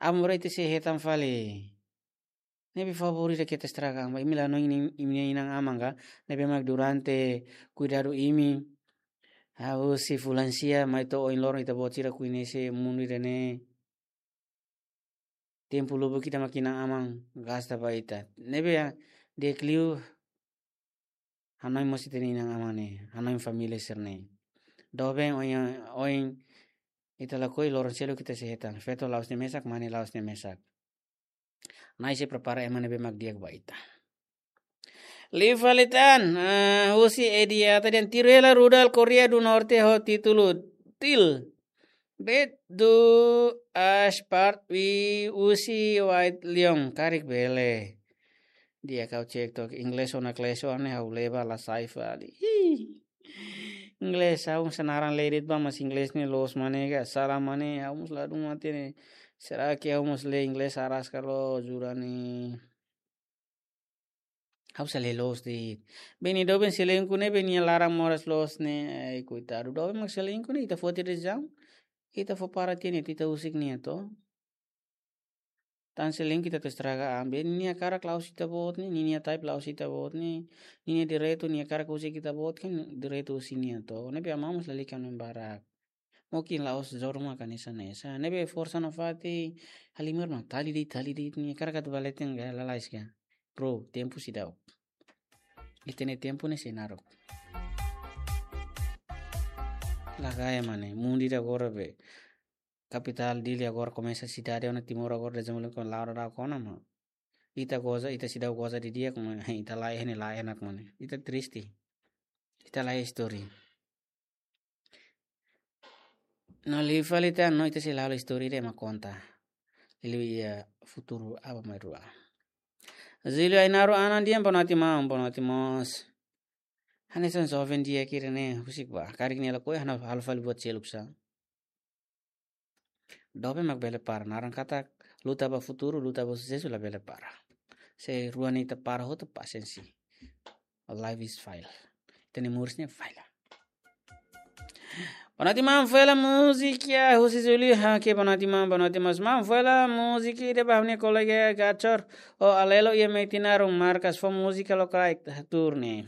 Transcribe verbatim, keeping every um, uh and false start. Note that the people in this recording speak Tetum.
Aban-bainrua ita sei hetan fali. Ne'ebé favór ida ke ita estraga an ba imi la hanoin imi-nia inan-aman ka. Ne'ebé mak durante kuidadu imi, ha'u husi fulan sia mai to'o ohin loron ita-boot sira koñese mundu ida-ne'e. Tempu lubuk ita mak inan-aman gasta ba ita. Ne'ebé di'ak liu hanoin mós ita-nia inan-aman ne'e, hanoin família sira-ne'e. Doben ohin, ohin ita lakohi, loron seluk ita sei hetan. Feto la'ós nia mesak, mane la'ós nia mesak. Na'i sei prepara ema ne'ebé mak di'ak ba ita. Liu fali tan, ah, husi Ediata dehan: Tiru hela rudal Korea do Norte ho títulu Til. Bet du as part wi husi White Lion, karik bele. Di'ak ha'u cek to'ok, inglés ona kleso ane ha'u leba la sai fali. Ih. Inglés, ha'u mós naran lee de'it ba, mas inglés ne'e loos mane ka, sala mane, ha'u mós ladún mate ne'e. Será que ha'u mós lee inglés araska loos, jura ne'e. Ha'u sei lee loos de'it. Beni doben selingkuh ne'ebé nia laran moras loos ne'e, ai, koitadu. Doben mak selingkuh ne'e, ita foti dezaun, ita fó para tiha ne'e, ita husik nia to. Tan selingkuh ita atu estraga an ba nia, nia hakarak la'ós ita-boot ne'e, nia, nia type la'ós ita-boot ne'e, nia, nia direitu, nia hakarak husik ita-boot, kan direitu husi nia to. Ne'ebé amamos lalika no barak. Mungkin la'ós joru maka hanesan hanesan. Ne'ebé forsa nafatin, halimar mak tali de'it, tali de'it, nia hakarak atu ba leten ka, lalais ka. Bro, tempu seidauk. Ita-nia tempu ne'e sei naruk. Lagaya mane, mundu ida agora be. Kapitál Dili agora komesa sidade ona, Timor agora dezenvolve ho laran daudauk ona, maun. Ita goza, ita seidauk goza didi'ak, maun, ita la iha ne'e la enak, maun. Ita triste. Ita la iha istória. No liu fali tan, no ita sei la halo istória ida ema konta. Liuliu iha futuru aban-bainrua. Zilio Ainaro Anan dehan boa noite maun, boa noite mós. Hanesan joven di'ak ida-ne'e husik ba. Karik nia lakohi ha'u halo fali buat seluk sa. Doben mak bele para, naran katak luta ba futuru, luta ba susesu la bele para. Se rua ne'e ita para hotu, pasiénsia. Life is fail. Ita-nia moris ne'e fail. Boa noite maun, fó hela múzika husi Zilio, ha, ke boa noite maun, boa noite mós maun, fó hela múzika ida ba ha'u-nia kolega Gachor, o Alelo iha Metinaro, markas fó múzika lokraik, turne.